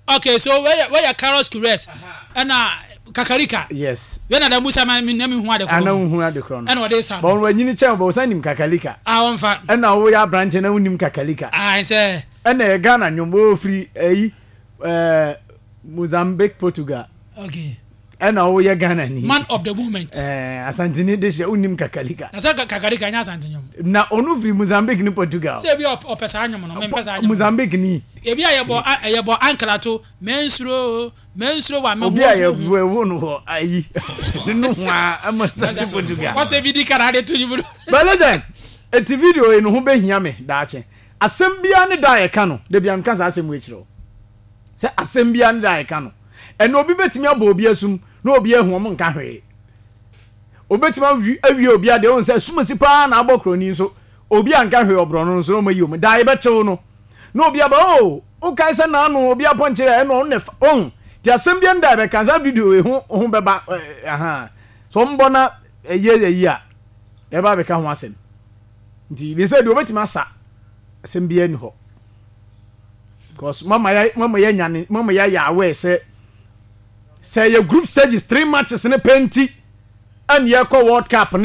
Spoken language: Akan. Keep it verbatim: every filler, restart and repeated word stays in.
Okay, so where where Carlos Queiroz ɛna Kakarika. Yes. Wei na da musa ma mi na mi hu ade korɔ. Ana hu ade korɔ no. Ɛna ɔde sa. Bɔn wanyini kyɛn bɔ ɔsan nim Kakalika. A wɔnfa. Ɛna woyɛ aberanteɛ na wonim Kakalika. Ah, sɛ. Ɛna yɛ Ghana nnwom wɔfiri ɛyi ɛɛ Mozambique, Portugal. Okay. Ɛna woyɛ Ghana ni. Man of the moment. Ɛɛ Asantini de hyɛ wonim Kakalika. Na sɛ Kakarika nyɛ Asante nnwom. Na ɔno firi Mozambique ne Portugal. Sɛ ebi ɔpɛ saa nnwom no, mempɛ saa nnwom. Mozambique ni. Ebi a yɛbɔ yɛbɔ ankrato mensuro mensuro wa me ho. Obi a yɛwo no hɔ ayi ne ho a ama Asante Portugal. Wɔsɛ bi di kara de to nnwom no. But legend, eti video yi no ho bɛhia me daakye. Asɛm biara ne da a yɛka no, da biara meka saa asɛm wei kyerɛ wo. Sɛ asɛm biara ne da a yɛka no. Ɛnna obi bɛtumi abɔ obi asum na obi ahu wɔn nka hwee. Obi bɛtumi awie obi adeɛ wɔn sɛ asumasi paa na abɔ kuroni nso obi anka hwee ɔborɔno nso na wɔn ayi wɔn. Da yɛbɛkyew no na obi aba, oh, wokae sɛ naano obi apɔnkyerɛ ɛna ɔno na ɛfa ɔn ti asɛm biara ne da yɛbɛka saa video yi ho ho bɛba ɛha so wɔn bɔ na ɛyɛ ɛyi a yɛba abɛka ho asɛm. Nti bi sɛ deɛ obɛtumi asa asɛm biara ni hɔ. Because mama ya mama ya nyane mama ya yɛ aware sɛ sɛ yɛ group stages three matches ne pɛ nti ɛne yɛkɔ World Cup ne.